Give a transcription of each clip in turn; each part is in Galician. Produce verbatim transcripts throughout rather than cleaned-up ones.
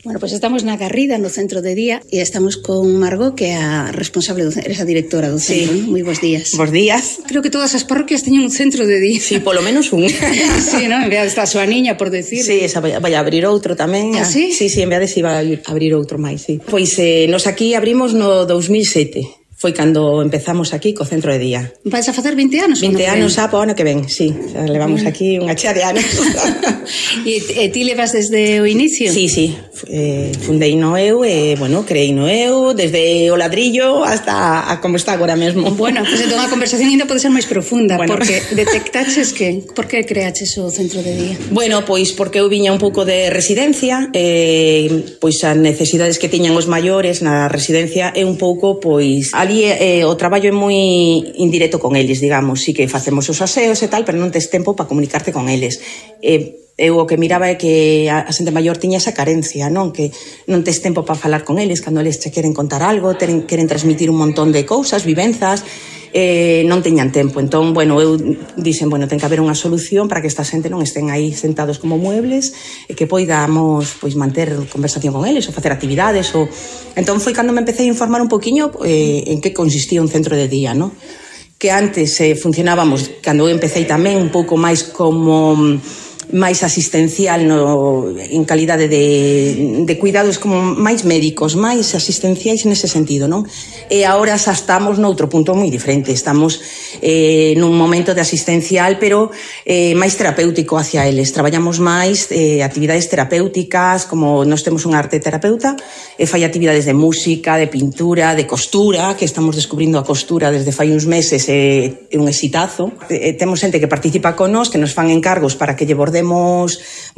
Bueno, pois pues estamos na Garrida, no centro de día, e estamos con Margot, que é a responsable, do, eres a directora do centro, sí. ¿No? Moi bons días. Bos días. Creo que todas as parroquias teñen un centro de día. Sí, polo menos un. Sí, ¿no? En vez de esta súa niña, por decir. Sí, esa vai, vai a abrir outro tamén. Ah, sí? Sí, sí, en vez de si vai a abrir outro máis, sí. Pois eh, nos aquí abrimos no dous mil sete. Foi cando empezamos aquí co centro de día. Vais a facer vinte anos? vinte anos xa po ano que ven, sí. Xa levamos aquí unha chea de anos. E, e ti levas desde o inicio? Sí, sí. Eh, fundei no eu, e, bueno, creei no eu, desde o ladrillo hasta a como está agora mesmo. Bueno, pues entón a conversación ainda pode ser máis profunda, bueno. Porque detectaches que, por que creaches o centro de día? Bueno, pois porque eu viña un pouco de residencia, eh, pois as necesidades que tiñan os maiores na residencia é un pouco, pois, ali eh, o traballo é moi indirecto con eles, digamos, sí que facemos os aseos e tal, pero non tes tempo para comunicarte con eles. Eh, eu o que miraba é que a xente maior tiña esa carencia, non? Que non tes tempo para falar con eles, cando eles te queren contar algo, teren, queren transmitir un montón de cousas, vivenzas, eh, non teñan tempo. Entón, bueno, eu dixen, bueno, ten que haber unha solución para que esta xente non estén aí sentados como muebles e que poidamos, pois, manter conversación con eles ou facer actividades ou... Entón foi cando me empecé a informar un poquinho eh, en que consistía un centro de día, non? Que antes eh, funcionábamos, cando eu empecé tamén un pouco máis como máis asistencial no, en calidade de, de cuidados como máis médicos, máis asistenciais nese sentido, non? E agora xa estamos noutro punto moi diferente, estamos eh, nun momento de asistencial, pero eh, máis terapéutico hacia eles. Traballamos máis eh, actividades terapéuticas, como nós temos unha arte terapeuta, e fai actividades de música, de pintura, de costura, que estamos descubrindo a costura desde fai uns meses, é eh, un exitazo. Eh, temos xente que participa con nós, que nos fan encargos para que lle bordemos.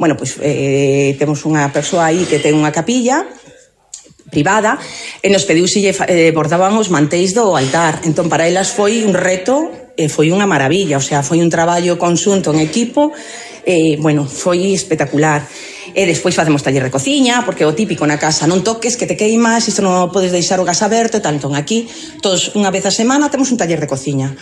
Bueno, pois eh, temos unha persoa aí que ten unha capilla privada e nos pediu se lle eh, bordaban os mantéis do altar. Entón, para elas foi un reto e foi unha maravilla, o sea, foi un traballo conxunto en equipo e, bueno, foi espectacular. E despois facemos taller de cociña, porque o típico na casa, non toques que te queimas, isto non podes deixar o gas aberto e tal. Entón, aquí, todos unha vez a semana temos un taller de cociña.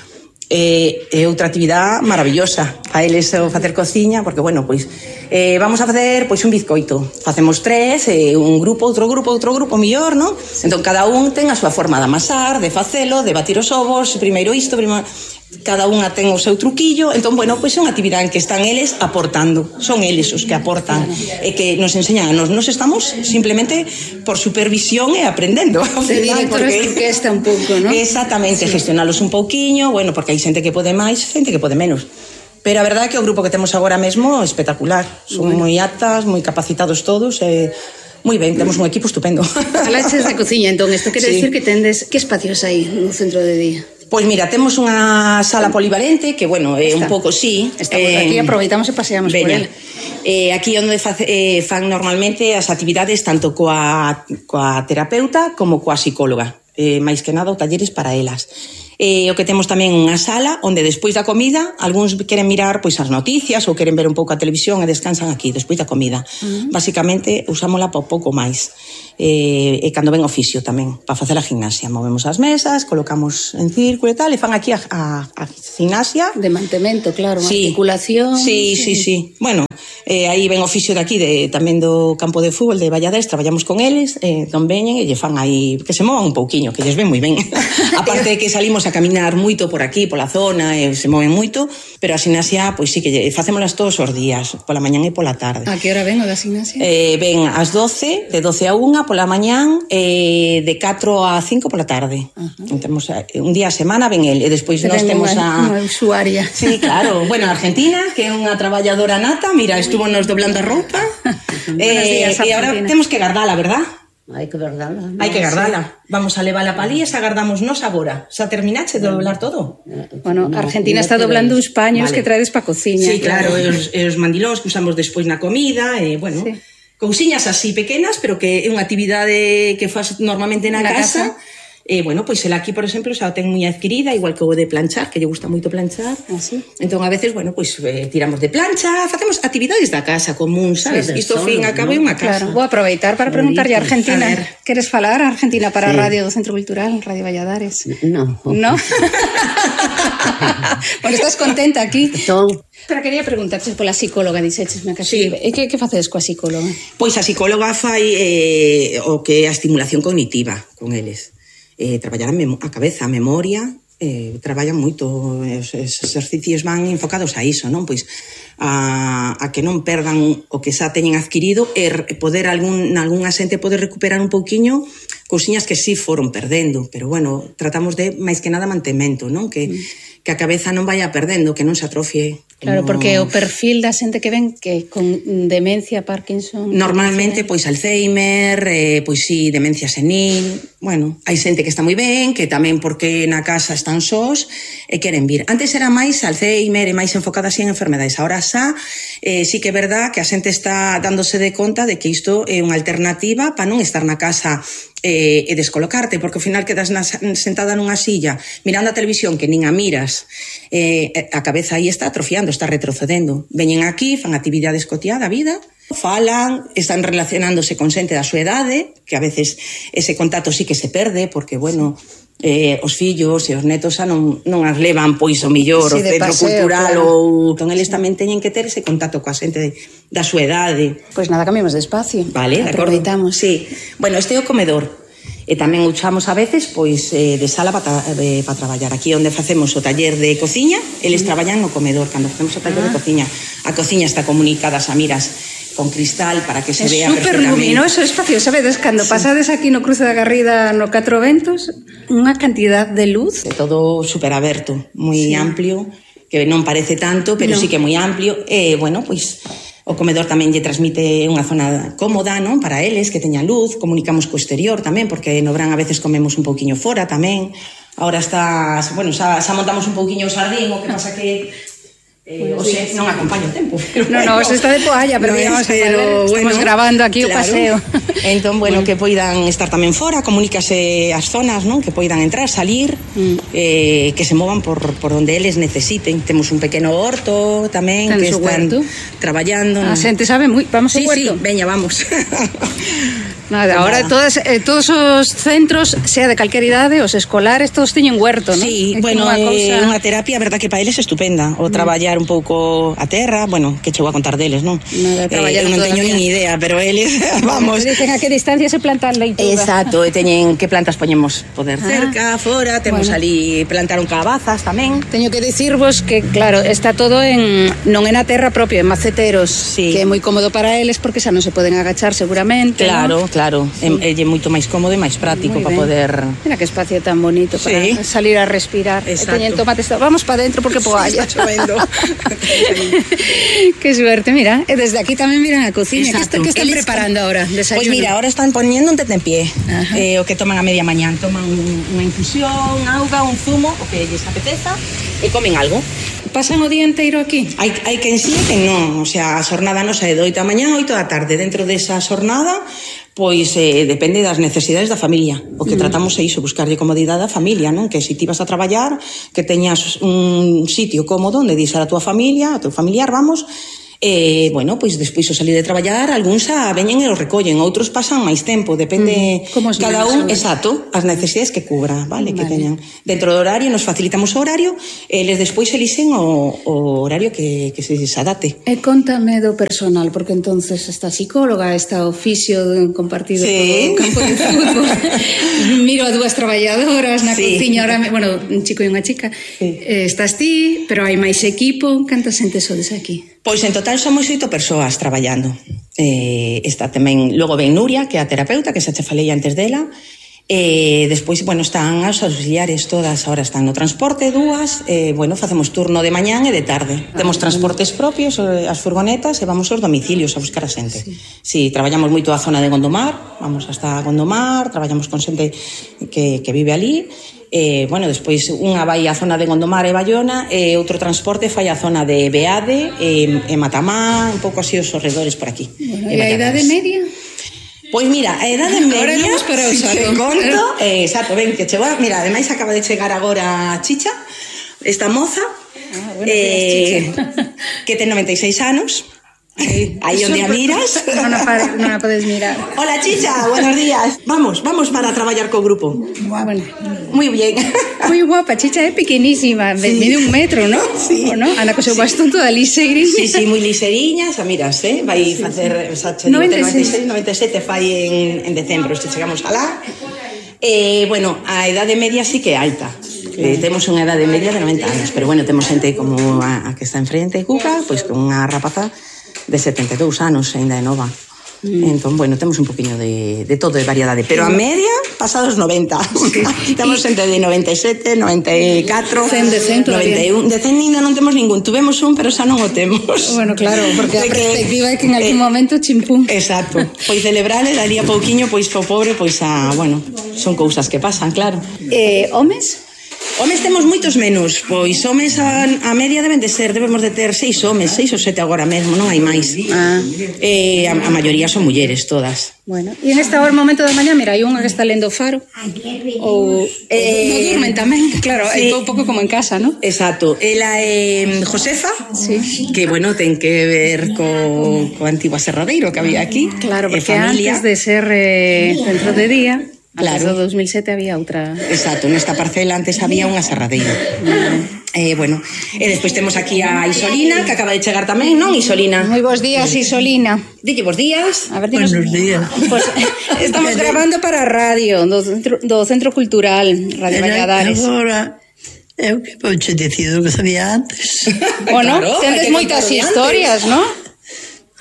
É, é outra actividade maravillosa a eles o facer cociña, porque, bueno, pois eh, vamos a facer pois un bizcoito, facemos tres, eh, un grupo, outro grupo, outro grupo millor, non? Entón cada un ten a súa forma de amasar, de facelo, de batir os ovos, primeiro isto, primeiro... cada unha ten o seu truquillo. Entón, bueno, pois é unha actividade en que están eles aportando, son eles os que aportan e que nos enseñan a nos, nos estamos simplemente por supervisión e aprendendo ao final, porque que está un pouco, ¿no? Exactamente, sí. Gestionalos un pouquiño, bueno, porque hai xente que pode máis, xente que pode menos. Pero a verdade é que o grupo que temos agora mesmo é espectacular, son bueno. moi aptas, moi capacitados todos e moi ben, temos un equipo estupendo. Falaches de cociña, entón, isto quere sí. Decir que tendes, que espacios hai no centro de día? Pois mira, temos unha sala polivalente que, bueno, é un pouco, sí. Estamos eh, aquí, aproveitamos e paseamos veña. Por ela. Eh, aquí onde face, eh, fan normalmente as actividades tanto coa, coa terapeuta como coa psicóloga. Eh, máis que nada, o talleres para elas. Eh, o que temos tamén unha sala onde despois da comida algúns queren mirar pois as noticias ou queren ver un pouco a televisión e descansan aquí despois da comida. Uh-huh. Basicamente usámola por pouco máis. Eh, e cando ven oficio tamén para facer a gimnasia, movemos as mesas, colocamos en círculo e tal, e fan aquí a, a, a gimnasia de mantemento, claro, sí. Articulación. Sí, sí, sí, sí. Bueno, eh, aí ven oficio de aquí de, tamén do campo de fútbol de Valladés, traballamos con eles, eh, non veñen e lle fan aí que se movan un pouquiño, que lles ven moi ben. Aparte de que salimos a caminar moito por aquí, pola zona, e se moven moito, pero a gimnasia, pois sí que facémolas todos os días, pola mañán e pola tarde. A que hora ven o da gimnasia? Eh, ven ás doce, de doce a unha pola mañán, e de catro a cinco pola tarde. Uh-huh. Temos un día a semana ven el, e despois pero nós temos a... Unha usuaria. Sí, claro. Bueno, Argentina, que é unha traballadora nata, mira, estuvo nos doblando a roupa. eh, días, e agora temos que gardala, verdad? Hai que gardala. Hai que gardala. Vamos a levala pa ali e xa gardamos nos agora. Xa terminache de doblar todo? Bueno, Argentina está doblando uns paños vale. Que traedes pa cociña. Sí, claro, e os, e os mandilós que usamos despois na comida, e, bueno, sí. Cousiñas así pequenas, pero que é unha actividade que faz normalmente na, na casa, casa E, bueno, pois ela aquí, por exemplo, xa o ten moi adquirida, igual que o de planchar, que lle gusta moito planchar. Así. Entón, a veces, bueno, pois eh, tiramos de plancha, facemos actividades da casa común, sabes? Sí, Isto, solo, fin, acaba é unha casa. Claro, vou aproveitar para preguntarlle a Argentina. A ver. Queres falar a Argentina para Sí. a Radio do Centro Cultural, Radio Valladares? No. No? Bueno, estás contenta aquí? Entón, Pero quería preguntarte pola psicóloga, dixeches, me casi. Sí. E que, que facedes coa psicóloga? Pois a psicóloga fai eh, o que é a estimulación cognitiva con eles. Eh, traballar a, mem a cabeza, a memoria, eh, traballan moito, os, os exercicios van enfocados a iso, non? Pois a, a que non perdan o que xa teñen adquirido e poder algún, algún asente poder recuperar un pouquiño cousiñas que sí foron perdendo, pero bueno, tratamos de máis que nada mantemento, non? Que, mm. que a cabeza non vaya perdendo, que non se atrofie. Claro, no... porque o perfil da xente que ven que con demencia, Parkinson... Normalmente, pois Alzheimer, eh, pois sí, demencia senil. Bueno, hai xente que está moi ben, que tamén porque na casa están sós e queren vir. Antes era máis Alzheimer e máis enfocada así en enfermedades. Ahora xa, eh, sí que é verdad que a xente está dándose de conta de que isto é unha alternativa para non estar na casa eh, e descolocarte, porque ao final quedas na, sentada nunha silla mirando a televisión que nin a miras, eh, a cabeza aí está atrofiando, está retrocedendo. Veñen aquí, fan actividades cotiá da vida, falan, están relacionándose con xente da súa idade, que a veces ese contacto sí que se perde, porque, bueno, eh, os fillos e os netos xa non, non as levan, pois, o millor, Sí, o de centro paseo, cultural, claro. ou... Entón, eles tamén teñen que ter ese contacto coa xente da súa idade. Pois nada, cambiamos de espacio. Vale, de acordo. Aproveitamos. Sí. Bueno, este é o comedor. E tamén usamos a veces pois eh, de sala para pa traballar. Aquí onde facemos o taller de cociña, eles traballan no comedor. Cando facemos o taller Ah. de cociña, a cociña está comunicada a miras con cristal para que se É vea super perfectamente. luminoso o espacio, sabedes, cando sí. pasades aquí no cruce da Garrida no Catro Ventos, unha cantidad de luz. De todo super aberto, moi Sí. amplio, que non parece tanto, pero No. sí que é moi amplio. E, bueno, pois o comedor tamén lle transmite unha zona cómoda, non? Para eles, que teñan luz, comunicamos co exterior tamén, porque no verán a veces comemos un pouquiño fora tamén. Ahora está, bueno, xa, xa montamos un pouquiño o sardín, o que pasa que eh, o xe non acompaña o tempo. Pero No, no, bueno, se está de poalla, pero no digamos, es, pero, estamos bueno, grabando aquí o paseo. Entón, bueno, que poidan estar tamén fora, comunícase as zonas, non? Que poidan entrar, salir, Mm. eh, que se movan por, por onde eles necesiten. Temos un pequeno horto tamén, Ten que su están huerto. traballando. A xente sabe moi, vamos Sí, ao sí, huerto. veña, vamos. Nada, ahora Nada. todas, eh, todos os centros, sea de calquer idade, os escolares, todos teñen huerto, non? Sí, É bueno, como unha é cousa- unha terapia, a verdad que para eles é estupenda. O traballar un pouco a terra, bueno, que chego a contar deles, non? Nada, traballar eh, eu non toda a teño vida. nin idea, pero eles, vamos. Dicen a que distancia se planta a leituga. Exacto, e teñen que plantas poñemos poder Ah. cerca, fora, temos Bueno. ali plantaron calabazas tamén. Teño que dicirvos que, claro, está todo en non é na terra propia, en maceteros, Sí. que é moi cómodo para eles porque xa non se poden agachar seguramente. Claro, ¿no? claro, sí. É, é moito máis cómodo e máis práctico Moi para ben. poder... Mira que espacio tan bonito para Sí. salir a respirar. Exacto. E teñen tomates, vamos para dentro porque poalla. Está chovendo. Qué suerte, mira. E desde aquí tamén miran a cociña. Que, está, Exacto. que están Eles- preparando ahora? Desayuno. Pois mira, ahora están poniendo un tentempié, Ajá. eh, o que toman a media mañán. Toman unha infusión, auga, un zumo, o que lles apeteza, e comen algo. Pasan o día inteiro aquí? Hai, hai quen sí e quen non. O sea, a xornada nosa é de oito da mañá a oito da tarde. Dentro desa xornada, pois eh, depende das necesidades da familia. O que mm. tratamos é iso, buscarlle comodidade á familia, non? Que se ti vas a traballar, que teñas un sitio cómodo onde deixar a tua familia, a teu familiar, vamos. E, bueno, pois despois o salir de traballar, algúns xa veñen e os recollen, outros pasan máis tempo, depende Mm, como os cada nenos, un, sobre. exacto, as necesidades que cubra, vale, que Vale. teñan. Dentro do horario nos facilitamos o horario, e eles despois elixen o, o horario que, que se adapte. E contame do personal, porque entonces esta psicóloga, esta oficio de- compartido Sí. co campo de fútbol. Miro a dúas traballadoras na Sí. cociña, ahora, me- bueno, un chico e unha chica. Sí. Eh, estás ti, pero hai máis equipo. Canta xente sodes aquí? Pois en total somos oito persoas traballando. Eh, está tamén, logo ven Nuria, que é a terapeuta, que xa che falei antes dela. E despois, bueno, están as auxiliares todas, ahora están no transporte, dúas, e, bueno, facemos turno de mañán e de tarde. Ah, Temos transportes propios, eh, as furgonetas, e vamos aos domicilios a buscar a xente. Sí. Sí, traballamos moito a zona de Gondomar, vamos hasta Gondomar, traballamos con xente que, que vive ali, e, bueno, despois unha vai á zona de Gondomar e Bayona, e outro transporte fai á zona de Beade e, e Matamá, un pouco así os arredores por aquí. Bueno, E e a idade Valladares. media? Pois mira, a edade media, para si te conto, eh, exacto, ven, que chegou, mira, ademais acaba de chegar agora a Chicha, esta moza, ah, bueno, eh, que ten noventa e seis anos, aí onde a miras. Non a, non a podes mirar. Hola, Chicha, buenos días. Vamos, vamos para traballar co grupo. Bueno, muy bien. Moi guapa, Chicha é pequenísima, sí. Mide un metro, ¿no? Sí. O no? Anda co seu bastón toda lisegriña. Sí, sí, moi liseriña, xa miras, eh? Vai facer, xa che digo, noventa e seis, noventa e sete fai en, en decembro, se chegamos alá. Eh, bueno, a edade media sí que é alta. Eh, temos unha edade media de noventa anos, pero bueno, temos xente como a, a que está enfrente, Cuca, pois con unha rapaza de setenta e dous anos, ainda é nova. Mm. Entón, bueno, temos un poquinho de, de todo, de variedade, pero a media, pasados noventa. Sí. Aquí temos xente de noventa e sete, noventa e catro, cen de cen noventa e un. De cen ainda non temos ningún, tuvemos un, pero xa non o temos. Bueno, claro, porque a perspectiva é que en algún eh, momento chimpún. Exacto. Pois celebrar e daría pouquiño, pois o pobre, pois a, bueno, son cousas que pasan, claro. Eh, homes? Homes temos moitos menos, pois homes a, a media deben de ser, debemos de ter seis homes, seis ou sete agora mesmo, non hai máis. Ah. Eh, a, a maioría son mulleres todas. Bueno, e en esta hora momento da mañá, mira, hai unha que está lendo o Faro. Ou eh, non durmen tamén, claro, sí. É un pouco como en casa, ¿no? Exacto. Ela é eh, Josefa, sí. Que bueno, ten que ver co, co antigo aserradeiro que había aquí. Claro, porque antes de ser eh, centro de día, claro. Antes do dos mil sete había outra. Exacto, nesta parcela antes había un aserradeiro. Mm. Eh, bueno, e despois temos aquí a Isolina, que acaba de chegar tamén, non, Isolina? Moi bons días, Isolina. Dille bons días. A ver, dinos... Buenos días. Pues, estamos grabando para a radio do Centro, do Centro Cultural Radio Valladares. Agora, eu que pouche dicido que sabía antes. Bueno, claro, tendes moitas historias, non?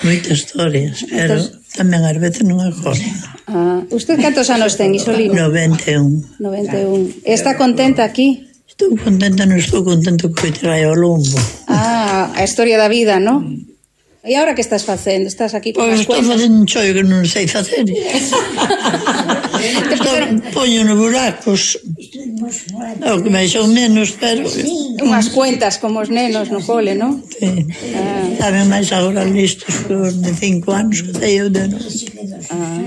Moitas historias, pero tamén ás veces non acordo. Ah, usted cantos anos ten, Isolina? noventa e un. noventa e un. Está contenta aquí? Estou contenta, non estou contento que me trae ao lombo. Ah, a historia da vida, non? E agora que estás facendo? Estás aquí con pois as cuentas? Pois estou facendo un chollo que non sei facer. Poño nos buracos. O que me son menos, pero... Unhas cuentas como os nenos no cole, non? Sí. Ah. Saben máis agora listos que os de cinco anos que sei eu de nós. Ah.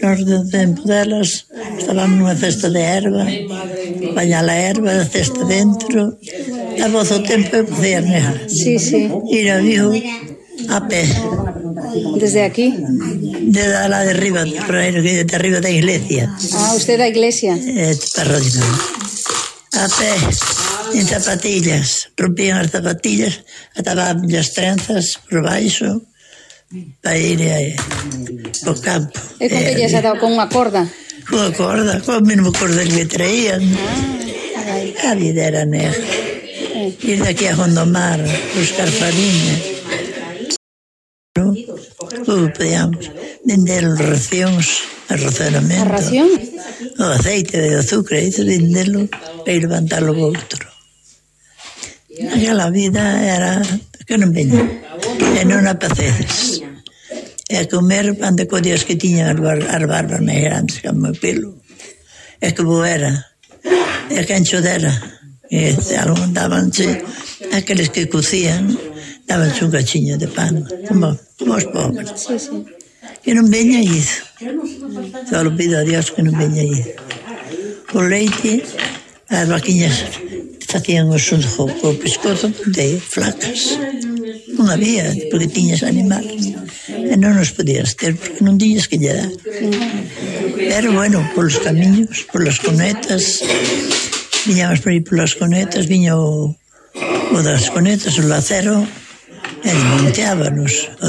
Nos do tempo delas estábamos nunha cesta de erva, bañar a erva, a cesta dentro, a voz o tempo eu podía negar. Sí, sí. Ir a vivo a pé. Desde aquí? De la de arriba, de arriba da iglesia. Ah, usted da iglesia? Eh, parrodia. A pé, en zapatillas. Rompían as zapatillas, ataban as trenzas por baixo, para ir eh, ao campo. E con que lles ataba? Con unha corda? Con unha corda, con o mesmo cordel que traían. Ah, a vida era negra. Eh. Ir daqui a Gondomar, buscar farinha. No? Como podíamos vender os racións, a racionamento. A ración? O aceite de azúcar, isso venderlo para ir levantarlo ao outro. Aquela vida era que non veña, e non a pacedes. E a comer pan de codias que tiñan as, bar as barbas máis grandes que o meu pelo. E que bo era, e que ancho dera. E algún dabanse, aqueles que cocían, dabanse un cachiño de pan, como, como os pobres. Sí, sí. Que non veña iso. Só lo pido a Dios que non veña iso. O leite, as vaquiñas facían o sunjo co pescozo de flacas. Non había, porque tiñas animales. E non os podías ter, porque non tiñas que lle dar. Pero, bueno, polos camiños, polas conetas, viñamos por aí polas conetas, viña o, o das conetas, o lacero, e desmonteábanos o